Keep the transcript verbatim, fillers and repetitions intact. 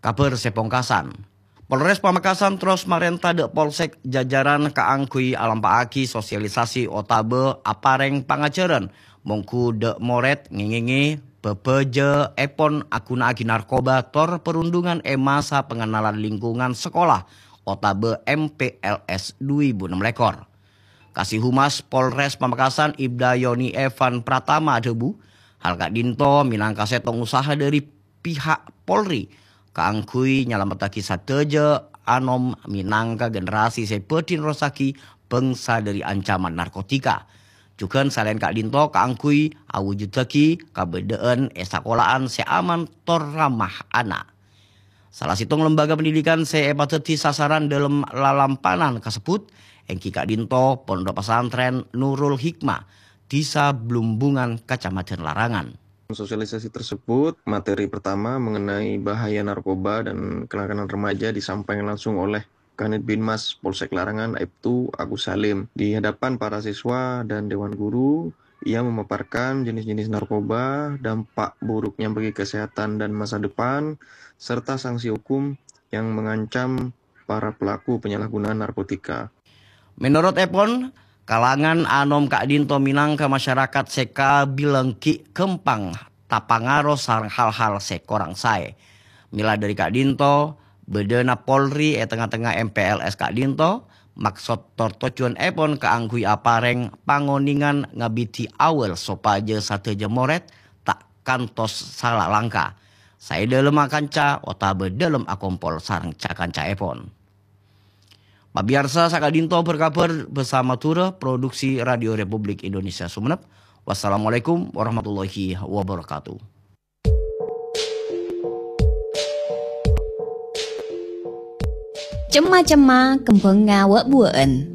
Kabhâr sè pongkasan. Polres Pamekasan terros marènta dhâ' Polsek jajaran kaangghuy alampa'aghi sosialisasi otabâ aparèng pangajhârân mongghu dhâ' morèd ngèngèngè bhâbhâjâèpon aghunaaghi narkoba tor perundungan è masa pengenalan lingkungan sekolah otabâ M P L S dhu èbu ennem lèkor. Kasih Humas Polres Pamekasan Ibda Yoni Evan Pratama adhâbu, hal ka'dinto mènangka sèttong usaha dhâri pihak Polri kaangghuy nyalamettaghi sadhâjâ anom mènangka generasi sè bhâdhi nerrossaghi bhângsa dhâri ancaman narkotika. Jhughân salaèn ka'dinto kaangghuy awujuddhâghi kabâdâ'ân è sakola'an sè aman tor ramah ana'. Sala sèttong lembaga pendidikan sè èpadhâddhi sasaran dhâlem lalampanan kasebbhut èngghi ka'dinto Pondok Pesantren Nurul Hikmah, Dhisa Blumbungan, Kacamadhân Larangan. Sosialisasi tersebut, materi pertama mengenai bahaya narkoba dan kenakalan remaja disampaikan langsung oleh Kanit Binmas Polsek Larangan, Aibtu Agus Salim. Di hadapan para siswa dan dewan guru, ia memaparkan jenis-jenis narkoba, dampak buruknya bagi kesehatan dan masa depan, serta sanksi hukum yang mengancam para pelaku penyalahgunaan narkotika. Menurut èpon, kalangan anom ka'dinto mènangka masyarakat sè kabilang ghi' ghâmpang tapangaro sareng hal-hal sè korang saè. Mèla dhâri ka'dinto, bâdâna Polri è tengnga-tengnga M P L S ka'dinto, maksod tor tojjhuwân èpon kaangghuy aparèng pangonèngan ngabidhi awal sopajâ sadhâjâ morèd ta' kantos sala langka, saè dhâlem akanca otabâ dhâlem akompol sareng ca-kancaèpon. Pamèyarsa, saka'dinto berkabar bersama Madura, produksi Radio Republik Indonesia Sumenep. Wassalamualaikum warahmatullahi wabarakatuh. Cemma-cemma kembhângnga wâ'-buwâ'ân.